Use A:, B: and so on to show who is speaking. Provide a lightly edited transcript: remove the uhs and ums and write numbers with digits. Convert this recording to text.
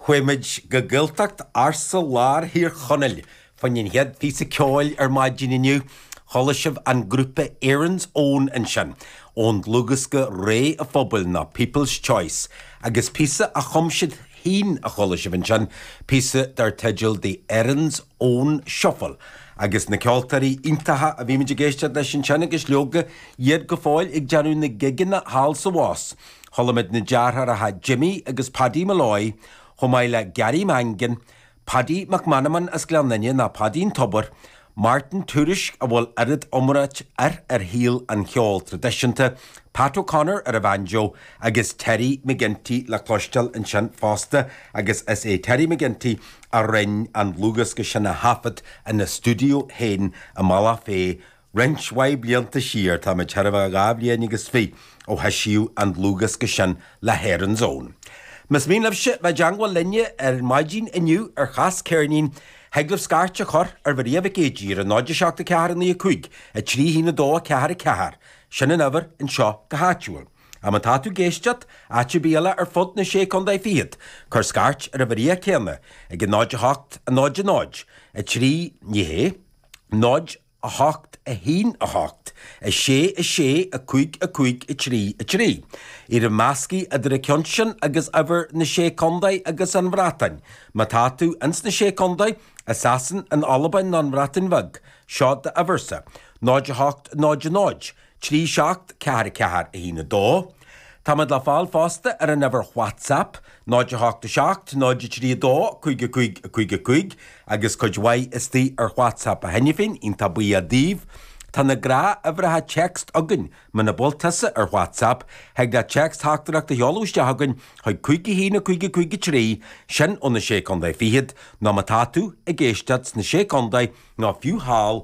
A: Chuaigh muid go Gaeltacht ársa lár Thír Chonaill fá choinne an chéad phíosa ceoil ar maidin inniu. Chuala sibh an grúpa Erin's Own ansin, ón dlúthdhiosca Rogha an Phobail nó People's Choice, agus píosa a chum siad féin a chuala sibh ansin, píosa dar teideal The Erin's Own Shuffle. Agus na ceoltóirí iontacha a bhí muid ag éisteacht leis ansin agus leoga iad go fóill ag déanamh na gigeanna thall 's abhus. Chuala muid na deartháireacha Jimmy agus Paddy Molloy, chomh maith le Gary Mangan, Paddy McManamon as Gleann Fhinne nó Paidí an Tobair, Martin Tuairisg a bhfuil oiread iomráit air ar shaol an cheoil traidisiúnta, Pat O'Connor ar an bhanjo agus Terry McGinty le cloisteáil ansin fosta agus is é Terry McGinty a rinn an dlúthdhiosca sin a thaifead ina stiúideo féin i mBealach Féich Roinnt mhaith blianta siar, táimid chóir a bheith 22 bhliain ó heisíodh an dlúthdhiosca sin le hErin's Own. Más mian libhse bheith i dteangmháil linne ar maidin inniu ar Chas Ceirnín, thig libh scairt a chur ar Mharia Mhic Éadaigh ar 0 7 4 9 5 3 1 2 4 4, sin an uimhir anseo go háitiúil. Ach má tá tú ag éisteacht áit ar bith eile ar fud na Sé Contae Fichead, cuir scairt ar an Mharia céanna ag 0 8 0 0 3, ní hé, 0 8 1 8 6 6 5 5 3 3. Iarraim measctha idir an ceann sin agus uimhir na Sé Contae agus an Bhreatain. Má tá tú ins na Sé Contae, i Sasain, in Albain nó an Bhreatain Bheag, seo d'uimhirse, 0 8 0 0 3 7 4 4 1 2. Táimid le fáil fosta ar an uimhir WhatsApp, 0 8 7 0 3 2 5 5 5 5, agus cuid mhaith istigh ar WhatsApp cheana féin, iontach buíoch daoibh. Tá na gnáthuimhreacha téacs againn, muna bhfuil tusa ar WhatsApp, thig leat téacs-theachtaireacht a sheoladh isteach chugainn chuig 5 1 5 5 3, sin ó na Sé Contae Fichead, nó má tá tú ag éisteacht sna Sé Contae nó fiú thall.